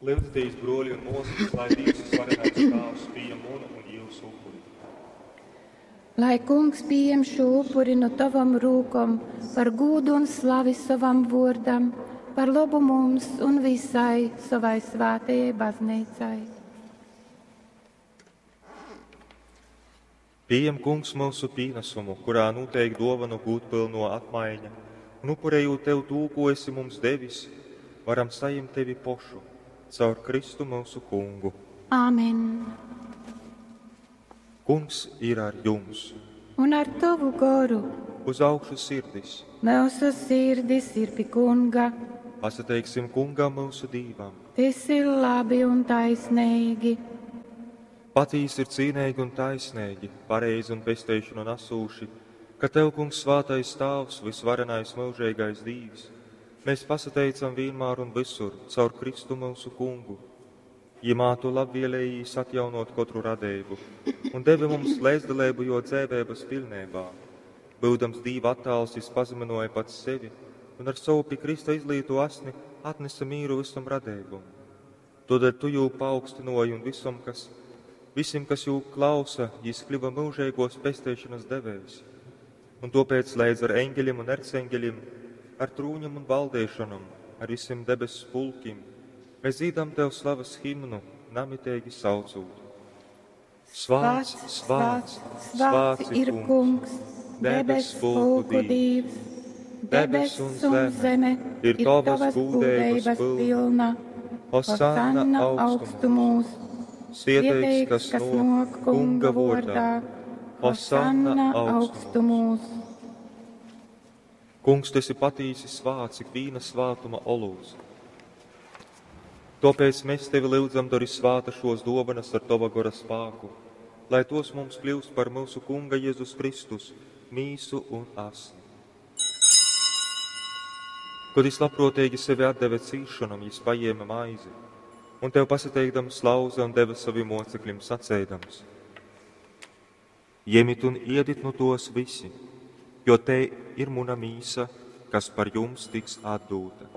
Lyudzitīs, bruoļi un muosys, lai Dīvs Vysvarenais Tāvs pījam munu un jiusu upuri. Lai Kungs pījem šū upuri nu tovom rūkom par gūdu un slavi sovam vuordam, par lobu mums un visai sovai svētajai bazneicai. Pījem, Kungs, myusu pīnasumu, kurā nūteik duovonu gūdpylnuo apmaiņa, un upurejūt Tev tū, ko esi mums devis, varam sajimt Tevi pošu, caur Kristu myusu Kungu. Āmen. Kungs ir ar jums! Un ar tovu goru Uz augšu sirdis! mūsu sirdis ir pi Kunga. Pasateiksim Kungam myusu Dīvam! Tas ir labi un taisnīgi. Patīsi ir cīnīgi un taisnīgi, pareizi un pesteišanu nesūši, ka Tev, Kungs, svātais Tāvs, vysvarenais mūžīgais Dīvs, mēs pasateicam vienmēr un visur caur Kristu mūsu Kungu. Jimā Tu labvēlējīs atjaunot katru radību un devi mums līdzdalību jo dzēvēbas pilnībā. Būdams Dīva attēls, jis pazeminoja pats sevi un ar savu pie Krista izlīto asni atnesa mīru visam radībum. Todēļ Tu jū paaugstinoji un visam, kas, visim, kas jū klausa, jis kļuva mūžīgos pesteišanas devējs. Un tāpēc līdz ar eņģeļiem un erceņģeļiem, ar trūņiem un valdēšanam, ar visiem debesu pulkim, mēs dzīdam Tev slavas himnu, namitīgi saucot. Svāts, svāts, svāts ir Kungs, debes pulku Dīvs. Debes un zeme ir tavas gūdeibas pilna. Hosanna augstumos, Svieteigs, kas nāk Kunga vārdā. Hosanna augstumos. Kungs, tu esi patīsi svāts, ik vīna svātuma olūts. Tāpēc mēs tevi lūdzam, dari svāta šos dovanas ar tava gora spāku, lai tos mums kļūst par mūsu Kunga Jēzus Kristus, mīsu un asni. Kad jis labprātīgi sevi atdeva cīšanam, jis paņēma maizi, un tev pasateikdams lauza un deva saviem mocekļiem sacēdams: Iemit un iedit nu tos visi, jo te ir muna mīsa, kas par jums tiks atdūta.